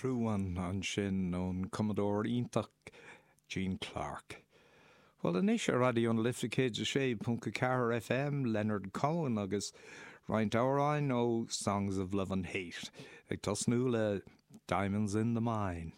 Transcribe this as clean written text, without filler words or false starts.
True One ansin ón cumadóir iontach Gene Clark. Bhuel anois ar Raidió na Life 106.4 FM, Leonard Cohen agus roinnt amhráin ó Songs of Love and Hate, ag tosnú le Diamonds in the Mine.